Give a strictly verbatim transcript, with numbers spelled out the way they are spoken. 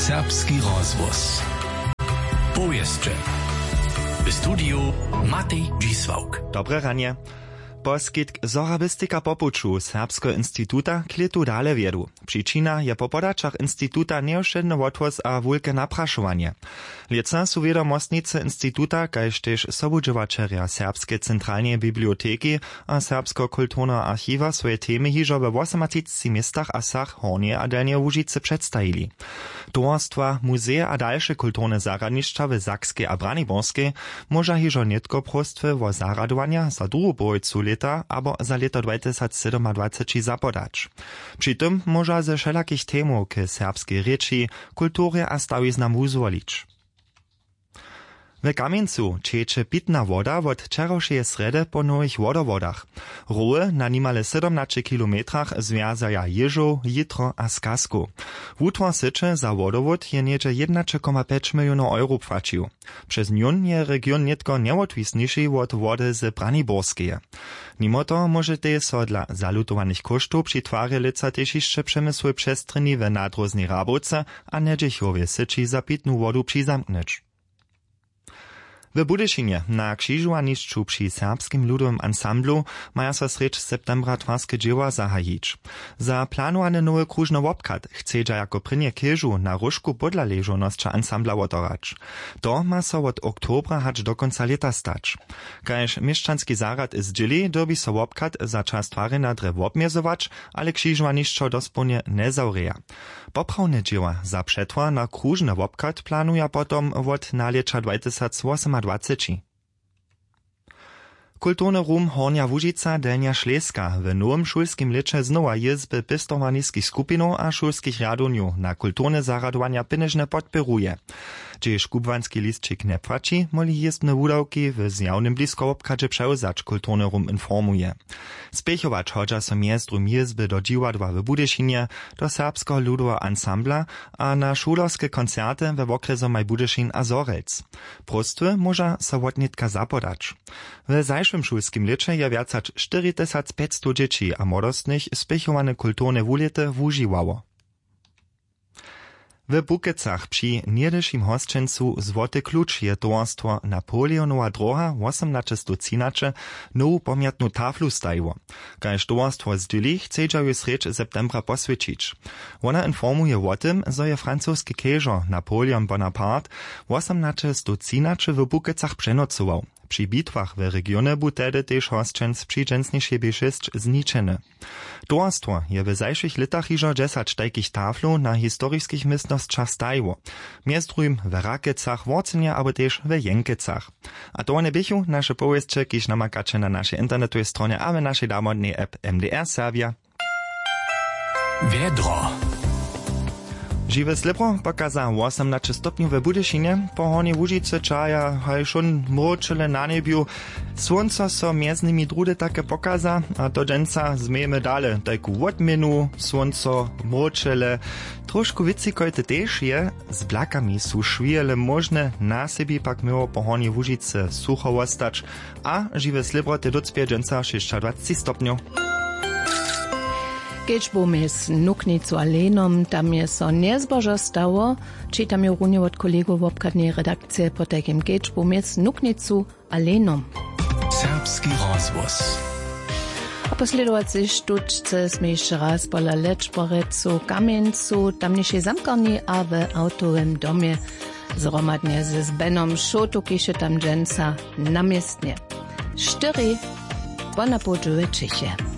Serbski rozhłos. Powěsće. W studiju Matej Dźisławk. Dobre ranje. Poskitk Sorabistika po puću Serbskeho instituta k lětu dale wjedu. Přičina je po podaćach instituta njewšedny wothłós a wulke naprašowanje. Lětsa su wědomostnicy instituta kaž tež sobudźěłaćerja Serbskeje centralneje biblioteki a Serbskeho kulturneho archiwa swoje temy hižo we wosomatřiceci městach a wsach Hornjeje a Delnjeje Łužicy předstajili. Towarstwa, muzeje a dalše kulturne zarjadnišća w Sakskej a Braniborskej móža hižo nětko próstwy wo zarjadowanja za druhu połojcu lěta abo za lěto dwajtysacsydomadwaceći zapodać. Při tym móža ze wšelakich temow k serbskej rěči, kulturje a stawiznam wuzwolić. W Kamjencu ćeče pitna woda wot wčerawšeje srjedy po nowych wodowodach. Roły na nimale sydomnaće kilometrach zwjazaja Jěžow, Jitro a Skazkow. Wutwar syće za wodowód je něhdźe jědnaće koma pjeć milionow euro płaćił. Přez njón je region nětko njewotwisniši wot wody z Braniborskeje. Nimo toho móžetej so dla zalutowanych kóštow při twarje lětsa tež hišće přemysłowej přestrjeni w nadróznej Rabowce a Njedźechowje syći za pitnu wodu přizamknyć. W Budyšinje na křižowanišću při Serbskim ludowym ansamblu maja so srjedź septembra twarske dźěła zahajić. Za planowany nowy króžny wobchad chcedźa jako prěnje chěžu na róžku podla ležownosća ansambla wotorać. To ma so wot oktobra hač do kónca lěta stać. Kaž měšćanski zarjad zdźěli, dyrbi so wobchad za čas twarjenja drje wobmjezować, ale křižowanišćo dospołnje njezawrěja. Poprawne dźěła za přetwar na króžny wobchad planuja potom wot nalěća dwajtysacwosomadwaceći. Kulturny rum Hornja Łužica, Delnja Šleska w nowym šulskim lěće znowa jězby pěstowarniskich skupinow a šulskich rjadownjow na kulturne zarjadowanja pěnježnje podpěruje. Hdźež kubłanski lisćik njepłaći, móhli jězbne wudawki w zjawnym bliskowobchadźe přewzać, kulturny rum informuje. Spěchować hodźa so mjez druhim jězby do dźiwadła w Budyšinje, do Serbskeho ludoweho ansambla a na šulerske koncerty we wokrjesomaj Budyšin a Zhorjelc. Próstwy móža so wotnětka zapodać. W zašłym šulskim lěće je wjac hač štyri tysac pjećstow dźěći a młodostnych spěchowane kulturne wulěty wužiwało. W Bukecach při něhdyšim hosćencu Złoty kluč je towarstwo Napoleonowa dróha wosomnaćestowtřinaće nowu pomjatnu taflu stajiło. Kaž towarstwo zdźěli, chcedźa ju srjedź septembra poswjećić. Wona informuje wo tym, zo je francoski chěžo Napoleon Bonaparte wosomnaćestowtřinaće w Bukecach přenocował. Při bitwach w regionje bu tehdy tež hosćenc při dźensnišej bě šěsć zničeny. Towarstwo je w zašłych lětach hižo dźesać tajkich taflow na historiskich městnosćach stajiło, mjez druhim w Rakecach, Worcenje abo tež w Jenkecach. A to wone běchu naše powěsće, kiž namakaće na našej internetowej stronje a w našej damodnej app M D R Serbia. Wjedro. Žiwe slěbro pokaza wosomnaće stopnjow w Budyšinje, po Hornjej Łužicy čaja haj wšón mróčele na njebju. Słónco so mjez nimi druhdy take pokaza, a to dźensa změjemy dale tajku wotměnu. Słónco, mróčele, trošku wětřikojte tež je. Z blakami su šwijele móžne, na sebi pak měło po Hornjej Łužicy sucho wostać. A žiwe slěbro te dócpě dźensa šěsćadwaceći stopnjow. Kedźbu mjez Nuknicu a Lenom, tam je so njezbožo stało. Čitam jo runje wot kolegow wobchadneje redakcije, potajkim kedźbu mjez Nuknicu a Lenom. Serbski rozhłos. A po slědowacej štučce smy hišće raz pola Lečborecu, Kamjencu, tamnišej zamkarni a w awtowym domje zhromadnje z Benom Šołtu, kiž je tam dźensa na městnje. Štyri, po na połdźu w Čěchje.